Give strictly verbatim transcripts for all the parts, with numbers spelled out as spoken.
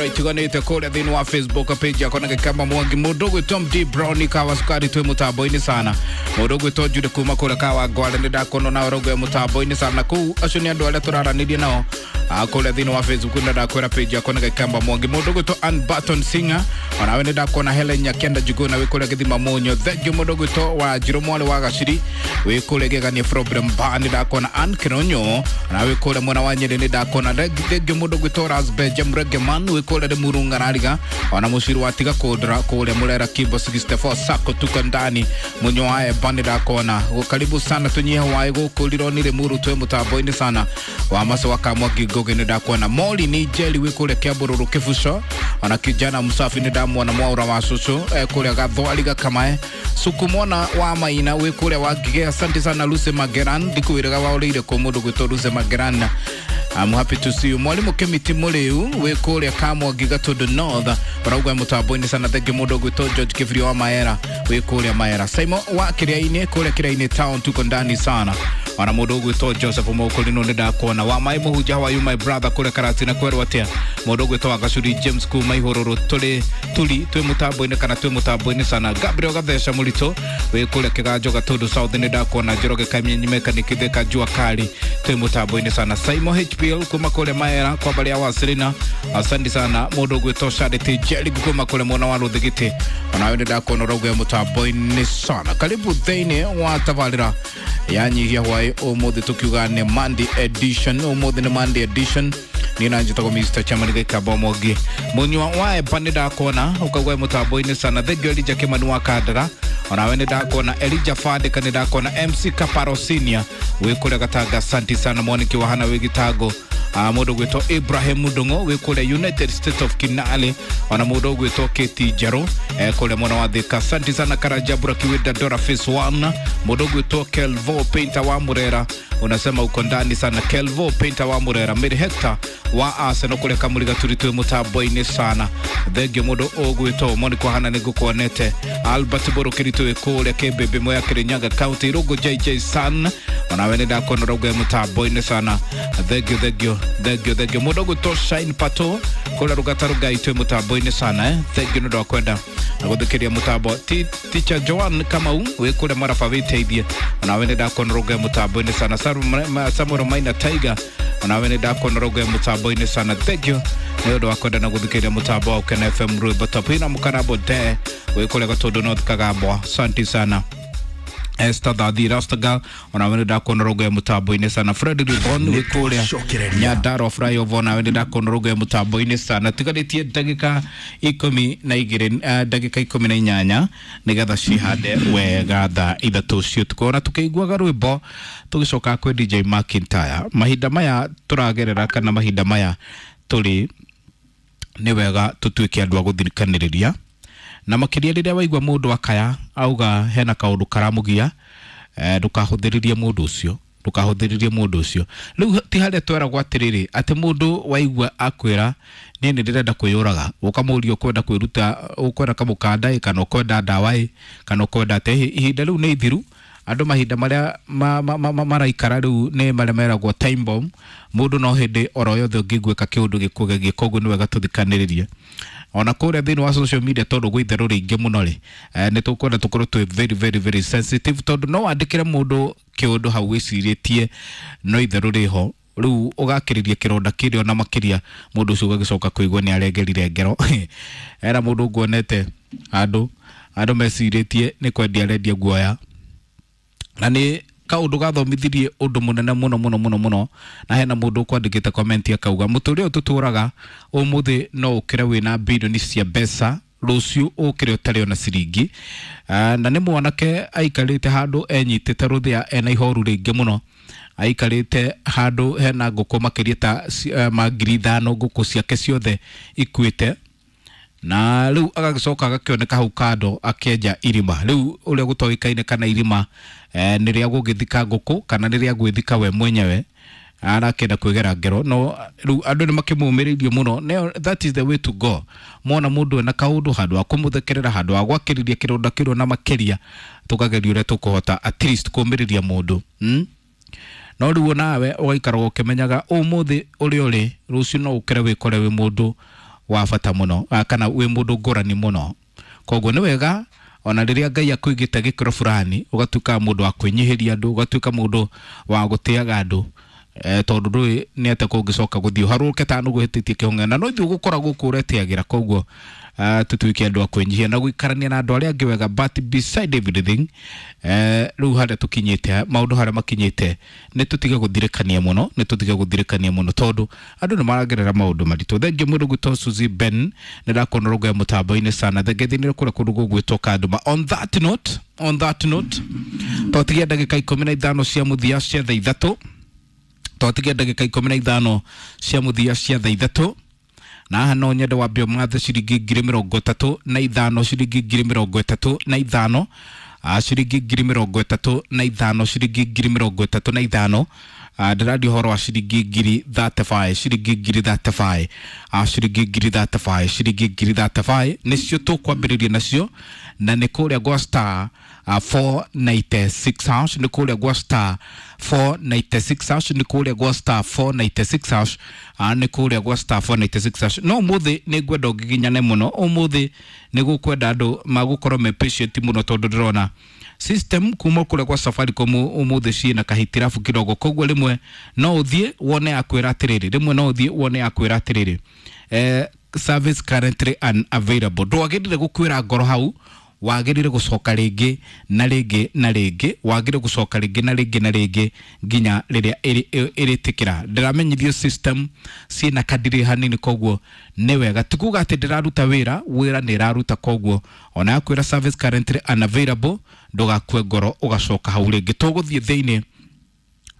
biacara itiganĩte kũrĩa thĩinĩ wa Facebook page yakwa na Gĩkamba Mwangi. Mũndũ ũgwĩtwo M D Brown kawa cukari twĩ mũtambo-inĩ sana. Mũndũ ũgwĩtwo Jude kuma kũrĩa kawa ngware nĩ ndakuona nawe ũraugwo mũtambo-inĩ sana. Kũu acio nĩ andũ arĩa tũraranĩria nao kũrĩa thĩinĩ wa Facebook, na ndakwĩra page yakwa na Gĩkamba Mwangi. Mũndũ ũgwĩtwo Ann Barton Singer, onawe nĩ ndakuona. Helen Nyakenda Njuguna wĩ kũrĩa Gĩthima Mũnyo, thank you. Mũndũ ũgwĩtwo Wanjirũ mwarĩ wa Gaciri wĩ kũrĩa Gĩgania problem bar, nĩ ndakuona. Ann Kironyo, onawe wĩ kũrĩa mwena wa Nyĩrĩ, nĩ ndakuona, thank you. Mũndũ ũgwĩtwo Rasbeja Mregeman wĩ kũrĩa Limuru Ng'arariga, ona mũciri wa tiga kũndra kũrĩa Mũrera Kimbo sixty-four Sacco tuko ndani. Mũnyo wa Eba, nĩ ndakuona, karibu sana. Tũnyihe waĩ gũkũ Rironi Limuru twĩ mũtambo-inĩ sana. Wa maco wa Kamwangi Ngugi, nĩ ndakuona. Moli ni Njeri wĩ kũrĩa Kĩambũrũrũ Kĩbuco, ona kijana msafi nĩ ndamuona. Mwaura wa cucu eh, kũrĩa Gathwari Gakamae. Sukumona wa Maina wĩ kũrĩa wa Ngigĩ, asante sana. Lucy Mageran, ndikwĩraga waũrĩire kũ. Mũndũ gwĩtwo Lucy Mageran, I'm happy to see you. Mwalimu Kemiti Mũrĩu wĩ kũrĩa Kamwangi Gatũndũ North ũrauga mũtambo-inĩ sana, thank you. Mũndũ gwĩtwo George Kĩbirio wa Maera wĩ kũrĩa Maera. Simon wa Kĩrĩa-inĩ kũrĩa Kĩrĩa-inĩ town, tuko ndani sana. Ona mũndũ ũgwĩtwo Joseph Mũkũrinũ nĩ ndakuona. Wa Mai Mũhunja, how are you, my brother? Kũrĩa Karatina kwerwo atĩa? Mũndũ ũgwĩtwo wa Gacuri James kuma Ihũrũrũ tũrĩ turi twĩ mũtambo-inĩ kana twĩ mũtambo-inĩ sana. Gabriel Gatheca Mũritũ wĩ kũrĩa Kĩganjo Gatũndũ South, nĩ ndakuona. Njoroge Kamenyi Mechanic Thika Jua Kali twĩ mũtambo-inĩ sana. Simon H P L kuma kũrĩa Maera kwa barĩa wa Serena, asante sana. Mũndũ ũgwĩtwo Charity Jerry kuma kũrĩa mwena wa Rũthigiti, onawe nĩ ndakuona ũrauga mũtambo-inĩ sana. Karibu thĩinĩ wa tabarĩra ya Nyihia Hwaĩ. Ũmũthĩ tũkiuga nĩ Monday edition, ũmũthĩ nĩ Monday edition. Niĩ na njĩtagwo Mister Chairman Gĩkamba Mwangi. Mũnyua wa Eba, nĩ ndakuona ũkaugua mũtambo-inĩ sana, thank you. Elijah Kimani wa Kandara, onawe nĩ ndakuona. Elijah Fandika, nĩ ndakuona. M C Kaparo Senior wĩ kũrĩa Gatanga, asante sana. Mwaniki wa Hana wĩ Gĩtango. uh, mũndũ gwĩtwo Ibrahim Ndung'u wĩ kũrĩa United States of Kinale, ona mũndũ gwĩtwo Keti Njerũ eh, kũrĩa mwena wa Thika, asante sana. Karanja Burakiwinda Dora Phase one, mũndũ gwĩtwo Kelvo Painter wa Murera unasema uko ndani sana. Kelvo Painter wa Murera. Mary Hector wa Arsenal kũrĩa Kamũriga tũri twĩ mũtambo-inĩ sana, thengio. Mũndũ ũgwĩtwo Monica Hana, nĩ ngũkuonete. Albert Borokiri twĩ kũrĩa Kĩmbĩmbĩ Moya Kĩrĩnyaga County. Rũngũ J J San, onawe nĩ ndakuona ũrauga mũtambo-inĩ sana, thengio, thengio, thengio, thengio. Mũndũ ũgwĩtwo Shine Pato kũrĩa Rũgata Rũgai twĩ mũtambo-inĩ sana, eh? Thengio nĩ ũndũ wa kwenda na gũthikĩria mũtambo. Ti- Teacher Joan Kamau wĩ kũrĩa Maraba wĩteithie, onawe nĩ ndakuona ũrauga mũtambo-inĩ sana. Samuel Maina Tiger, onawe nĩ ndakuona ũrauga mũtambo-inĩ sana, thank you nĩ ũndũ wa kwenda na gũthikĩrĩria mũtambo wa Ukena F M rwĩmbo top ina. Mũkarambo de wĩ kũrĩa Gatũndũ North Kagambwa, asante sana. Esther Thathi Rastagal, onawe nĩ ndakuona ũrauga mũtambo-inĩ sana. Fred Ribon wĩ kũrĩa Cokereria. Nyandarua flyover, onawe nĩ ndakuona ũrauga mũtambo-inĩ sana. Tigarĩtie ndagĩka ikũmi na igĩrĩ, eh, ndagĩka ikũmi na inyanya nĩgetha cihande wega thaa ithatũ cia ũtukũ. Ona tũkĩiguaga rwĩmbo tũgĩcoka kwĩ D J McIntyre, mahinda maya tũragerera kana mahinda maya tũrĩ, nĩ wega tũtuĩke andũ a gũthikanĩrĩria, na makĩria rĩrĩa waigua mũndũ akaya auga hena kaũndũ karamũgia, eh, ndũkahũthĩrĩrie mũndũ ũcio, ndũkahũthĩrĩrie mũndũ ũcio. Rĩu ti harĩa tweragwo atĩrĩrĩ, atĩ mũndũ waigua akwĩra niĩ nĩ ndĩrenda kwĩyũraga, ũkamũria ũkwenda kwĩruta, ũkwenda kamũkanda ĩ, kana ũkwenda ndawa ĩ, kana ũkwenda atĩ. Ihinda rĩu nĩ ithiru. Andũ mahinda marĩa ma, ma, ma, ma, maraikara rĩu nĩ marĩa meragwo time bomb. Mũndũ no hĩndĩ oro yothe ũngĩiguĩka kĩũndũ gĩkũgegie, koguo nĩ wega tũthikanĩrĩrie ona kũrĩa thĩinĩ wa social media, tondũ gwĩ itherũ rĩingĩ mũno rĩ, eh, nĩ tũkwenda tũkorwo twĩ very very very sensitive, tondũ no wandĩkĩre mũndũ kĩũndũ hau wĩcirĩtie no itherũ rĩho, rĩu ũgakĩrĩria kĩronda kĩrĩa ona makĩria, mũndũ ũcio ũgagĩcoka kũigua nĩ arengerire ngero. Era mũndũ nguonete andũ andũ mecirĩtie nĩ kwendia arendia guoya, na nĩ kaũndũ gathomithirie ũndũ mũnene mũno mũno mũno mũno. Na hena mũndũ ũkwandĩkĩte comment akauga mũtũrĩre ũyũ tũtũraga ũmũthĩ, no ũkĩre wĩna bilioni cia mbeca, rũciũ ũkĩre ũtarĩ ona ciringi. Ah, na nĩ mwanake aikarĩte handũ enyitĩte rũthĩa ena ihoru rĩingĩ mũno, aikarĩte handũ hena ngũkũ makĩria ta ci- eh, ma ngiri ithano, ngũkũ ciake ciothe ikuĩte, na rĩu agagĩcoka agakĩoneka hau kando akĩenja irima. Rĩu ũrĩa gũtoĩkaine kana irima eh, nĩ rĩa gũgĩthika ngũkũ kana nĩ rĩa gwĩthika we mwenyewe, arakĩenda kwĩgera ngero. No rĩu andũ nĩ makĩmũmĩrĩirie mũno. Ne- that is the way to go. Mona mũndũ ena kaũndũ, handũ ha kũmũthekerera, handũ ha gwakĩrĩria kĩronda kĩrĩa na makĩria, tũkageria ũrĩa tũkũhota at least kũmĩrĩria mũndũ, hmm? No rĩu nawe ũgaikaraga ũkĩmenyaga ũmũthĩ ũrĩa ũrĩ, rũciũ no ũkĩre wĩkore wĩ mũndũ wa bata mũno kana wĩ mũndũ ngũrani mũno. Koguo nĩ wega ona rĩrĩa Ngai akũigĩte gĩkĩro fulani ũgatuĩka mũndũ wa kwĩnyihĩria andũ, ũgatuĩka mũndũ wa gũtĩaga andũ, eh, tondũ ndũĩ nĩ atĩa kũngĩcoka gũthiĩ ũharũrũke ta nũgũ hĩtĩtie kĩhong'e na no ithuĩ gũkora gũkũ ũretĩagĩra. Koguo uh, tũtuĩke andũ a kwĩnyihia na gũikarania na andũ arĩa angĩ wega. But beside everything, eh, rĩu harĩa tũkinyĩte, maũndũ harĩa makinyĩte, nĩ tũtige gũthirĩkania mũno, nĩ tũtige gũthirĩkania mũno tondũ andũ nĩ maragerera maũndũ maritũ. Thengiũ mũndũ gwĩtwo Suzy Ben, nĩ ndakuona rũgo ya mũtambo-inĩ sana. Thengiũ kũrĩa kũndũ gũgwĩtwo Kanduma. On that note, on that note, twatigia ndagĩka ikũmi na ithano cia mũthia cia thaa ithatũ, twatigia ndagĩka ikũmi na ithano cia mũthia cia thaa ithatũ, na haha no nyende wambe ũmathe ciringi ngiri mĩrongo ĩtatũ na ithano, ciringi ngiri mĩrongo ĩtatũ na ithano, ah, ciringi ngiri mĩrongo ĩtatũ na ithano, ciringi ngiri mĩrongo ĩtatũ na ithano. Ah, ndĩraria ũhoro wa ciringi ngiri thirty-five, ciringi ngiri thirty-five, ah, ciringi ngiri thirty-five, ciringi ngiri thirty-five nĩcio tũkwambĩrĩria nacio, na nĩ kũrĩa gwa star uh, four ninety-six hash, nĩ kũrĩa gwa star four ninety-six hash, nĩ kũrĩa gwa star four ninety-six hash, uh, nĩ kũrĩa gwa star four ninety-six hash. No ũmũthĩ nĩ ngwenda ũngiginyane mũno, ũmũthĩ nĩ gũkwenda andũ magũkorwo me patient mũno tondũ ndĩrona system kuma kũrĩa gwa Safaricom ũmũthĩ ciĩna kahitirabu kidogo. Koguo rĩmwe no ũthiĩ wone akwĩra atĩrĩrĩ, rĩmwe no ũthiĩ wone akwĩra atĩrĩrĩ, eh, service currently unavailable. Ndwagĩrĩire gũkwĩra ngoro hau, wagĩrĩire gũcoka rĩngĩ na rĩngĩ na rĩngĩ, wagĩrĩire gũcoka rĩngĩ na rĩngĩ na rĩngĩ nginya rĩrĩa ĩrĩtĩkĩra. Ndĩramenyithio system ciĩna kadiri hanini, koguo nĩ wega ti kuga atĩ ndĩraruta wĩra, wĩra nĩ ĩraruta. Koguo ona yakwĩra service currently unavailable, ndũgakue ngoro, ũgacoka hau rĩngĩ. Tũgũthiĩ thĩinĩ,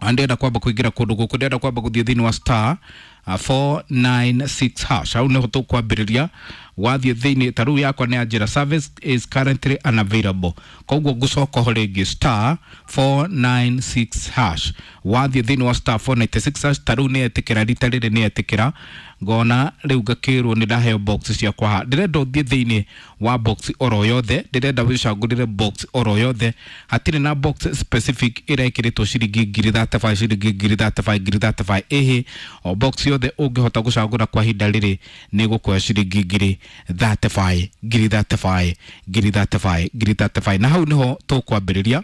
ndĩrenda kwamba kũingĩra kũndũ gũkũ, ndĩrenda kwamba gũthiĩ thĩinĩ wa star uh, four nine six hash, hau nĩho tũkwambĩrĩria. Wathiĩ thĩinĩ ta rĩu yakwa nĩ yanjĩra service is currently unavailable, koguo ngũcoka ho rĩngĩ star four nine six hash. Wathiĩ thĩinĩ wa star four nine six hash, ta rĩu nĩ etĩkĩra, rita rĩrĩ nĩ etĩkĩra, ngona rĩu ngakĩrwo nĩ ndaheo box ciakwa haha. Ndĩrenda ũthiĩ thĩinĩ wa box oro yothe, ndĩrenda wĩcagũrĩre box oro yothe, hatirĩ na box specific ĩrekĩrĩtwo ciringi ngiri thirty-five, ciringi ngiri thirty-five, ngiri thirty-five, ĩhĩ, o box yothe ũngĩhota gũcagũra kwa ihinda rĩrĩ nĩ gũkuoya ciringi ngiri thirty-five, ngiri thirty-five, ngiri thirty-five, ngiri thirty-five, na hau nĩho tũkwambĩrĩria,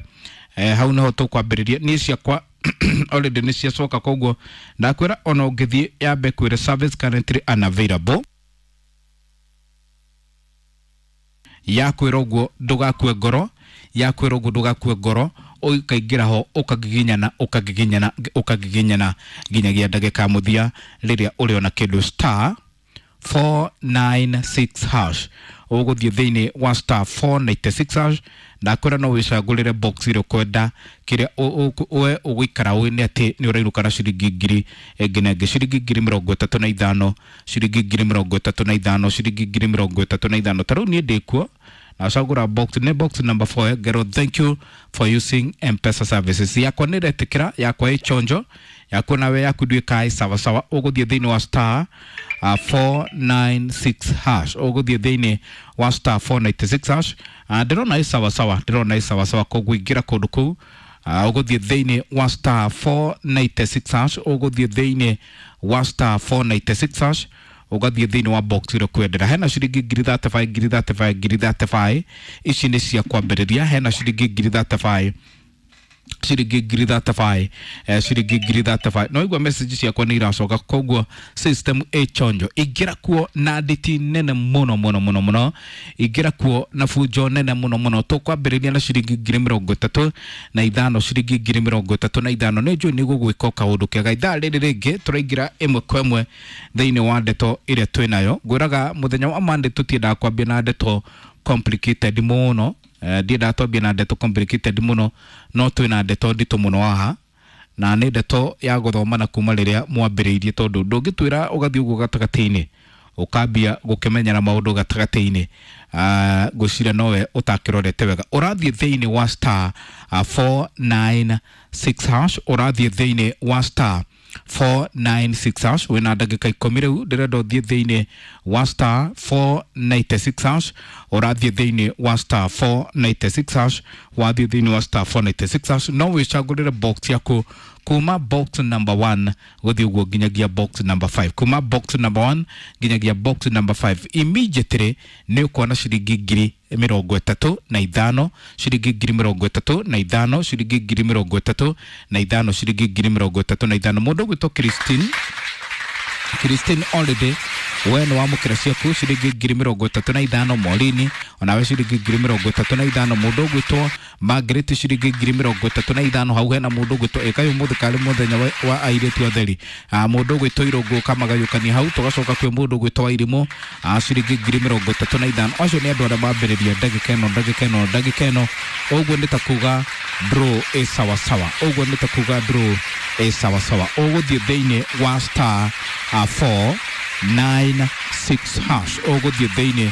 eh, hau nĩho tũkwambĩrĩria. Niĩ ciakwa already nĩ ciacoka, koguo ndakwĩra ona ũngĩthiĩ yambe kwĩre service currently unavailable, yakwĩra ũguo ndũgakue ngoro, yakwĩra ũguo ndũgakue ngoro, ũkaingĩra ho ũkagiginyana, ũkagiginyana, ũkagiginyana nginyagia ndagĩka ya mũthia rĩrĩa ũrĩona kĩndũ. Star four nine six hash, ũgũthiĩ thĩinĩ wa star four nine six hash. Ndakwĩra no wĩcagũrĩre box ĩrĩa ũkwenda, kĩrĩa we ũgũikara ũĩ nĩ atĩ nĩ ũrainũka na ciringi ngiri ĩngĩ na ĩngĩ, ciringi ngiri mĩrongo ĩtatũ na ithano, ciringi ngiri mĩrongo ĩtatũ na ithano, ciringi ngiri mĩrongo ĩtatũ na ithano. Ta rĩu niĩ ndĩkuo nacagũra box, nĩ box number four, ngero thank you for using M-Pesa services. Yakwa nĩ ĩretĩkĩra, yakwa ĩ chonjo, yaku nawe yaku nduĩka ĩ sawa sawa. Ũgũthiĩ thĩinĩ wa star uh, four nine six hash, ũgũthiĩ thĩinĩ wa star four nine six hash. uh, ndĩrona ĩ sawa sawa, ndĩrona ĩ sawa sawa, koguo ingĩra kũndũ kũu, uh, ũgũthiĩ thĩinĩ wa star four nine six hash, ũgũthiĩ thĩinĩ wa star four nine six hash, ũgathiĩ thĩinĩ wa box ĩrĩa ũkwendera. Hena ciringi ngiri thirty-five, ngiri thirty-five, ngiri thirty-five, ici nĩ cia kwambĩrĩria. Hena ciringi ngiri thirty-five, ciringi ngiri thirty-five, eh, ciringi ngiri thirty-five. No igua message ciakwa nĩ iracoka, koguo system ĩ chonjo. Ingĩra kuo na nditi nene mũno mũno mũno mũno, ingĩra kuo na bunjo nene mũno mũno. Tũkwambĩrĩria na ciringi ngiri mĩrongo ĩtatũ na ithano, ciringi ngiri mĩrongo ĩtatũ na ithano. Nĩ njũĩ nĩ gũgwĩka o kaũndũ kega. Ithaa rĩrĩ rĩngĩ tũraingĩra ĩmwe kwa ĩmwe thĩinĩ wa ndeto ĩrĩa twĩ nayo. Ngwĩraga mũthenya wa Monday tũtiendaga kwambia na ndeto complicated mũno, eh, ndiendaga twambie na ndeto complicated mũno, no twĩna ndeto nditũ mũno haha, na nĩ ndeto ya gũthoma na kuma rĩrĩa mwambĩrĩirie, tondũ ndũngĩtwĩra ũgathiĩ ũguo gatagatĩ-inĩ ũkambia gũkĩmenyera maũndũ gatagatĩ-inĩ, uh, ngwĩciria nowe ũtakĩrorete wega. Ũrathiĩ thĩinĩ wa star uh, four nine six hash, ũrathiĩ thĩinĩ wa star four nine six hash. Wĩna ndagĩka ikũmi rĩu, ndĩrenda ũthiĩ thĩinĩ wa star four nine six hash, ũrathiĩ thĩinĩ wa star four nine six hash. Wathiĩ thĩinĩ wa star four nine six hash, no wĩcagũrĩre box yaku. Kuma box number one guthii uguo nginyagia box number five. Kuma box number one nginyagia box number five. Immediately ni ukuona ciringi ngiri mirongo ĩtatũ na ithano, ciringi ngiri mirongo ĩtatũ na ithano, ciringi ngiri mirongo ĩtatũ na ithano, ciringi ngiri mirongo ĩtatũ na ithano. Mũndũ ũgwĩtwo Christine, Christine Holiday, we nĩ wamũkĩra ciaku ciringi ngiri mirongo ĩtatũ na ithano. Morini onawe ciringi ngiri mirongo ĩtatũ na ithano. Mũndũ ũgwĩtwo Margaret ciringi ngiri mirongo ĩtatũ na ithano. Hau hena mũndũ ũgwĩtwo ĩkai ũmũthĩ karĩ mũthenya wa, wa airĩtu atheri. Ah, mũndũ ũgwĩtwo Irũngũ kamagayũkania hau. Tũgacoka kwĩ mũndũ ũgwĩtwo Wairimũ, ah, ciringi ngiri mirongo ĩtatũ na ithano. Acio nĩ andũ arĩa mambĩrĩria ndagĩka ĩno, ndagĩka ĩno, ndagĩka ĩno. Ũguo nĩ ta kuga draw ĩ sawasawa, ũguo nĩ ta kuga draw ĩ sawasawa. Ũgũthiĩ thĩinĩ wa star uh, four nine six hash, ũgũthiĩ thĩinĩ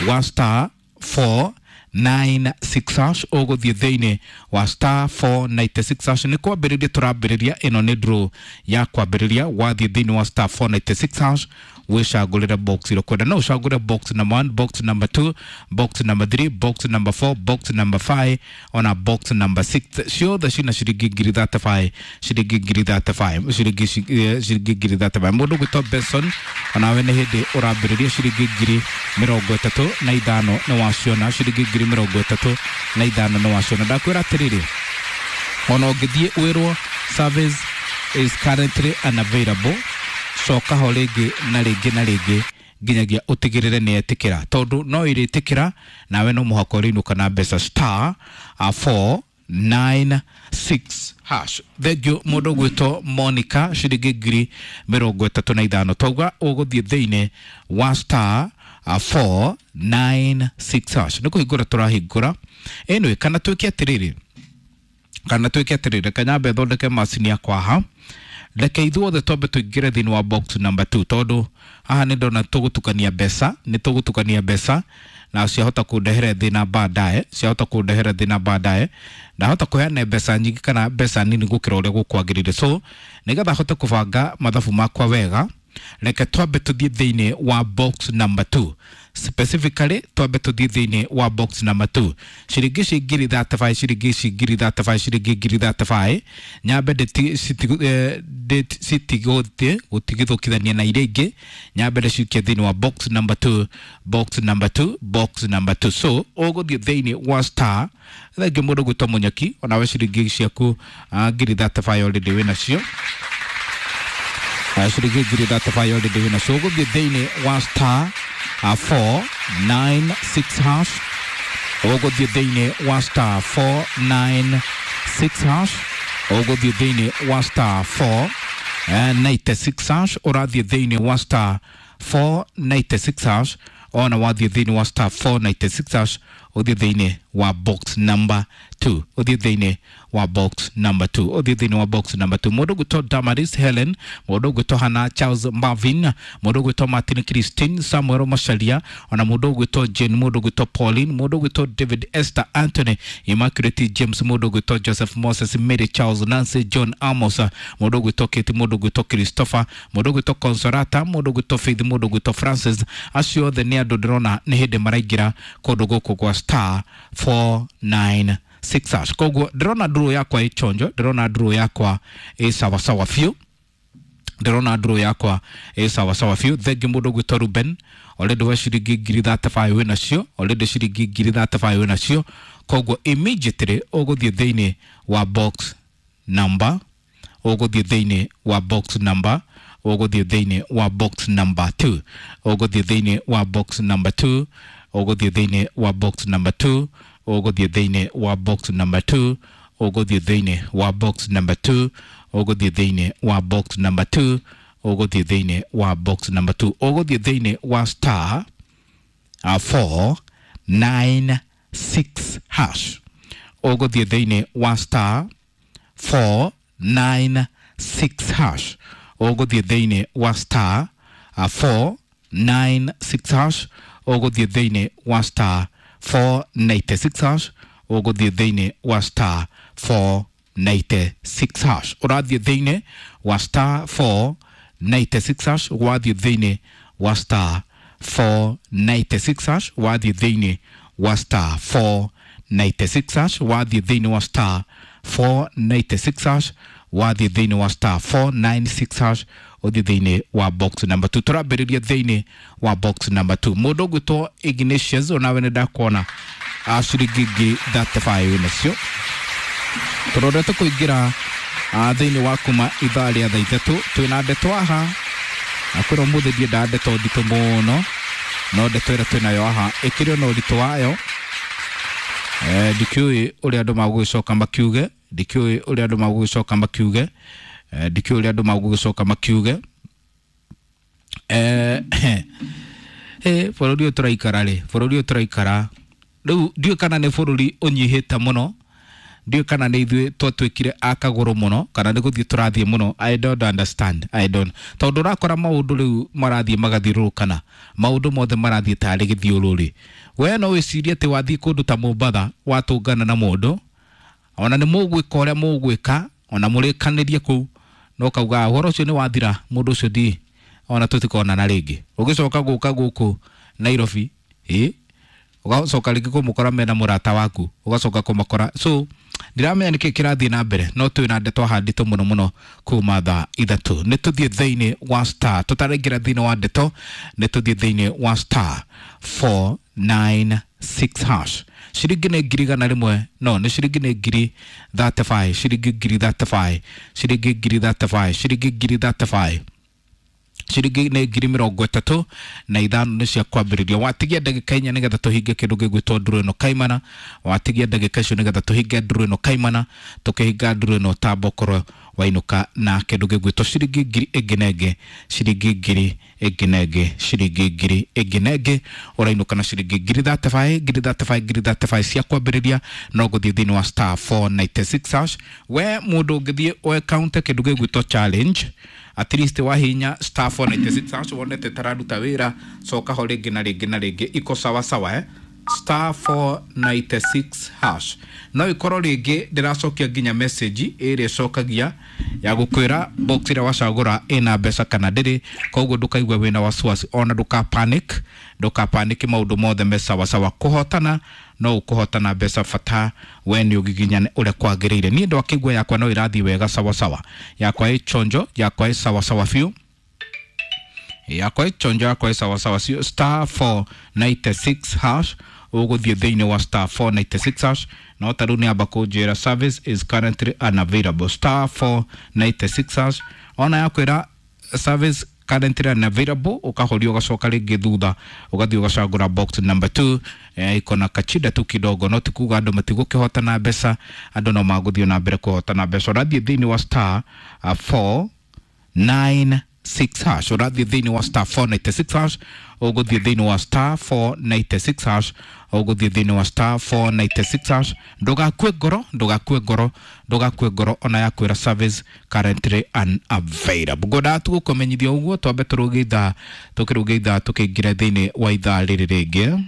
wa star four nine six hash, ũgũthiĩ thĩinĩ wa star four ninety six hash. Nĩ kwambĩrĩria tũrambĩrĩria, ĩno nĩ draw ya kwambĩrĩria. Wathiĩ thĩinĩ wa star four ninety six hash wĩcagũrĩre box ĩrĩa ũkwenda. No ũcagũre box number one, box number two, box number three, box number four, box number five ona box number six. Ciothe cina ciringi ngiri thirty five, ciringi ngiri thirty five, ciringi ciringi ngiri thirty five. Mũndũ ũgwĩtwo Benson onawe nĩ hĩndĩ ũrambĩrĩria ciringi ngiri mĩrongo ĩtatũ na ithano nĩ waciona, ciringi ngiri mĩrongo ĩtatũ na ithano nĩ waciona. Ndakwĩra atĩrĩrĩ, ona ũngĩthiĩ wĩrwo service is currently unavailable, coka ho rĩngĩ na rĩngĩ na rĩngĩ nginyagia ũtigĩrĩre nĩ etĩkĩra, tondũ no ĩrĩtĩkĩra nawe no mũhaka ũrĩinũka na mbeca. Star uh, four nine six hash. Thank you mũndũ ũgwĩtwo Monica ciringi ngiri mĩrongo ĩtatũ na ithano. Twauga ũgũthiĩ thĩinĩ wa star uh, four nine six hash, nĩ kũhingũra tũrahingũra. Anyway, kana twĩke atĩrĩrĩ, kana twĩke atĩrĩrĩ, reke nyambe thondeke macini yakwa haha. Reke ithuothe twambe tũingĩre thĩinĩ wa box number two, tondũ haha nĩ ndona tũgũtukania mbeca, nĩ tũgũtukania mbeca na ciahota kũndehere thĩna baadaye, ciahota kũndehere thĩna baadaye. Ndahota kũheana mbeca nyingĩ kana mbeca nini gũkĩra ũrĩa gũkwagĩrĩire. So nĩgetha hote kũbanga mathabu makwa wega, reke twambe tũthiĩ thĩinĩ wa box number two. Specifically twambe tũthiĩ thĩinĩ wa box number two. Ciringi ici ngiri thirty five, ciringi ici ngiri thirty five, ciringi ngiri thirty five, nyambe citigũthiĩ gũtigithũkithania na iria ingĩ, nyambe ndĩcikie thĩinĩ wa box number two, box number two, box number two. So ũgũthiĩ thĩinĩ wa star. Thengiũ mũndũ gwĩtwo Mũnyaki, onawe ciringi ciaku ngiri thirty five already wĩnacio, ciringi ngiri thirty five already wĩnacio. Ũgũthiĩ thĩinĩ wa star uh, four nine six hash, ũgũthiĩ thĩinĩ wa star four nine six hash, ũgũthiĩ thĩinĩ wa star four ninety six hash, ũrathiĩ thĩinĩ wa star four ninety six hash. Ona wathiĩ thĩinĩ wa star four ninety six hash, ũthiĩ thĩinĩ wa box number two, ũthiĩ thĩinĩ wa box number two, ũthiĩ thĩinĩ wa box number two. Mũndũ ũgwĩtwo Damaris Helen, mũndũ ũgwĩtwo Hannah Charles Marvin, mũndũ ũgwĩtwo Martin Christine Samuel Macharia, ona mũndũ ũgwĩtwo Jane, mũndũ ũgwĩtwo Pauline, mũndũ ũgwĩtwo David Esther Anthony, Immaculate James, mũndũ ũgwĩtwo Joseph Moses, Mary Charles, Nancy John Amos, mũndũ ũgwĩtwo Kate, mũndũ ũgwĩtwo Christopher, mũndũ ũgwĩtwo Consolata, mũndũ ũgwĩtwo Faith, mũndũ ũgwĩtwo Francis. Acio othe nĩ andũ ndĩrona nĩ hĩndĩ maraingĩra kũndũ gũkũ gwa star four nine six hash. Koguo ndĩrona draw yakwa ĩ chonjo, ndĩrona draw yakwa ĩ sawasawa biũ, ndĩrona draw yakwa ĩ sawasawa biũ. Thengiũ mũndũ ũgwĩtwo Ruben, already we ciringi ngiri thirty five wĩnacio, already ciringi ngiri thirty five wĩnacio. Koguo immediately ũgũthiĩ thĩinĩ wa box number, ũgũthiĩ thĩinĩ wa box number, ũgũthiĩ thĩinĩ wa box number two, ũgũthiĩ thĩinĩ wa box number two, ũgũthiĩ thĩinĩ wa box number two, ũgũthiĩ thĩinĩ wa box number two, ũgũthiĩ thĩinĩ wa box number two, ũgũthiĩ thĩinĩ wa box number two, ũgũthiĩ thĩinĩ wa box number two, ũgũthiĩ thĩinĩ wa star uh, four nine six hash, ũgũthiĩ thĩinĩ wa star four nine six hash, ũgũthiĩ thĩinĩ wa star uh, four nine six hash, ũgũthiĩ thĩinĩ wa star four ninety six hash, ũgũthiĩ thĩinĩ wa star four ninety six hash. Ũrathiĩ thĩinĩ wa star four ninety six hash, wathiĩ thĩinĩ wa star four ninety six hash, wathiĩ thĩinĩ wa star four ninety six hash, wathiĩ thĩinĩ wa star four ninety six hash, Wathiĩ thĩinĩ wa star four nine six hash, ũthiĩ thĩinĩ wa box number two. Tũrambĩrĩria thĩinĩ wa box number two. Mũndũ ũgwĩtwo Ignatius, onawe nĩ ndakuona ciringi ngiri thirty five nacio. Tũrorete kũingĩra thĩinĩ wa kuma ithaa rĩa thaa ithatũ. Twĩna ndeto haha na kwĩra ũmũthĩ ndiendaga ndeto nditũ mũno, no ndeto ĩrĩa twĩnayo haha ĩkĩrĩ ona ũritũ wayo. Eh, ndikĩũĩ ũrĩa andũ magũgĩcoka makiuge, ndikĩũĩ ũrĩa andũ magũgĩcoka makiuge, eh, ndikĩũĩ ũrĩa andũ magũgĩcoka makiuge. Eh, eh, bũrũri ũyũ tũraikara rĩ, bũrũri ũyũ tũraikara rĩu ndiũĩ kana nĩ bũrũri ũnyihĩte mũno, ndiũĩ kana nĩ ithuĩ twatuĩkire a kagũrũ mũno, kana nĩ gũthiĩ tũrathiĩ mũno. I don't understand, I don't. Tondũ ũrakora maũndũ rĩu marathiĩ magathiũrũrũkana, maũndũ mothe marathiĩ tarĩ gĩthiũrũrĩ. We no wĩcirie atĩ wathiĩ kũndũ ta Mombatha watũngana na mũndũ, ona nĩ mũgwĩka ũrĩa mũgwĩka, ona mũrĩkanĩrie kũu, no kauga ũhoro ũcio nĩ wathira, mũndũ ũcio ndi ona tũtikonana rĩngĩ. Ũgĩcoka gũka gũkũ Nairobi, ĩ ũgacoka rĩngĩ kũmũkora mena mũrata waku, ũgacoka kũmakora. So ndiramenya nĩkĩ kĩrathiĩ na mbere, no twĩ na ndeto haha nditũ mũno mũno kuma thaa ithatũ. Nĩ tũthiĩ thĩinĩ wa star, tũtaraingĩra thĩinĩ wa ndeto, nĩ tũthiĩ thĩinĩ wa star four nine six hash. Ciringi nĩ ngiri igana rĩmwe, no nĩ ciringi nĩ ngiri thirty five, ciringi ngiri thirty five, ciringi ngiri thirty five, ciringi ngiri thirty five, ciringi nĩ ngiri mĩrongo ĩtatũ na ithano nĩ cia kwambĩrĩria. Watigia ndagĩka inya nĩgetha tũhinge kĩndũ gĩgwĩtwo nduru ĩno kaimana. Watigia ndagĩka icio nĩgetha tũhinge nduru ĩno kaimana. Tũkĩhinga nduru ĩno tamba ũkorwo wainũka na kĩndũ gĩgwĩtwo ciringi ngiri ĩngĩ na ĩngĩ, ciringi ngiri ĩngĩ na ĩngĩ, ciringi ngiri ĩngĩ na ĩngĩ. Ũrainũka na ciringi ngiri thirty five, ngiri thirty five, ngiri thirty five cia kwambĩrĩria. No gũthiĩ thĩinĩ wa star four ninety six hash. We mũndũ ũngĩthiĩ ũekaunte kĩndũ gĩgwĩtwo challenge, at least wahinya star four ninety six hash wonete tararuta wĩra, coka ho rĩngĩ na rĩngĩ na rĩngĩ, iko sawa sawa, eh? Star four ninety six hash. No ikorwo rĩngĩ ndĩracokia nginya message ĩrĩa ĩcokagia ya gũkwĩra box ĩrĩa wacagũra ĩna mbeca kana ndĩrĩ, koguo ndũkaigue wĩna wasiwasi, ona ndũka panic, ndũka panic, maũndũ mothe me sawa sawa. Kũhotana no ũkũhotana mbeca, bata we nĩ ũgiginyane ũrĩa kwagĩrĩire. Niĩ ndwakĩigua yakwa no ĩrathiĩ wega sawa sawa, yakwa ĩ chonjo, yakwa ĩ sawa sawa biũ, yakwa ĩ chonjo, yakwa ĩ sawa sawa biũ. Star four ninety six hash, ũgũthiĩ thĩinĩ wa star four ninety six hash. No ta rĩu nĩ amba kũnjĩra service is currently unavailable. Star four ninety six hash, ona yakwĩra service currently unavailable, ũkahoria ũgacoka rĩngĩ thutha, ũgathiĩ ũgacagũra box number two. Eh, iko na kachida tu kidogo, no ti kuga andũ matigũkĩhotana mbeca, andũ no magũthiĩ na mbere kũhotana mbeca. Ũrathiĩ thĩinĩ wa star, uh, four nine six hash, ũrathiĩ thĩinĩ wa star four ninety six hash, ũgũthiĩ thĩinĩ wa star four ninety six hash, ũgũthiĩ thĩinĩ wa star four ninety six hash. Ndũgakue ngoro, ndũgakue ngoro, ndũgakue ngoro, ona yakwĩra service currently unavailable. Ngwendaga tu gũkũmenyithia ũguo, twambe tũrũge ithaa, tũkĩrũge ithaa tũkĩingĩra thĩinĩ wa ithaa rĩrĩ rĩngĩ.